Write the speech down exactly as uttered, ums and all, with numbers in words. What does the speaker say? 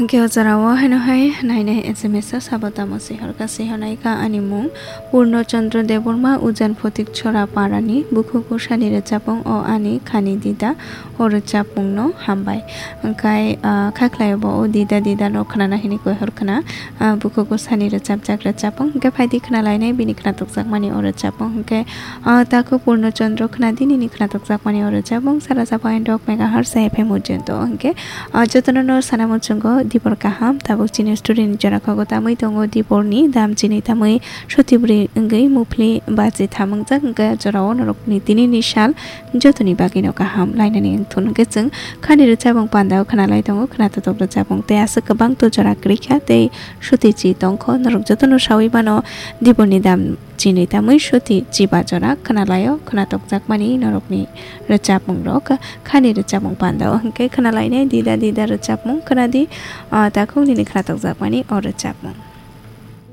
Hwnkhe o jorao haino hai nainai S M S o sabo tamo swi horkha, swi honaikha ani mung Purno Chandra Debbarma, Ujan Photik Chora Parani, bukhugo sani rwchapung o ani khani dida, o rwchapungno hambai. Hwnkhe, ah, khaklaio bo o dida dida no khnana hini koi horkhna, ah, bukhugo sani rwchapjak rwchapung. Hwnkhe phaidi khnalainai bini khnatukjakmani o rwchapung. Hwnkhe, ah, takhuk Purno Chandra khnadi nini khnatukjakmani o rwchapung. Sara sabo andok megahertz F M ujento. Hwnkhe, ah, jotono no sana muchungo dibor kaham. Tabuk chini story ni jora khago tamwi tongo diborni dam chini tamwi sotibri wngwi muphli bachi thamungjak. Hwnkhe jorao norokni tinini sal jotoni bagwino kaham lainani wngthun. Hwnkhe chwng khani rwchapung pandao khnalai tongo, khna totok rwchapung tei aswk kwbang to jora kwrwikha tei suti chi tongkho. Norok jotono sawi mano diborni dam chini tamwi suti chiba jora khnalaio, khna tokjakmani norokni rwchapung rok khani rwchapung pandao. Hwnkhe khnalainai dida dida rwchapung khnadi, ah, takhuk nini khna tokjakmani o rwchapung.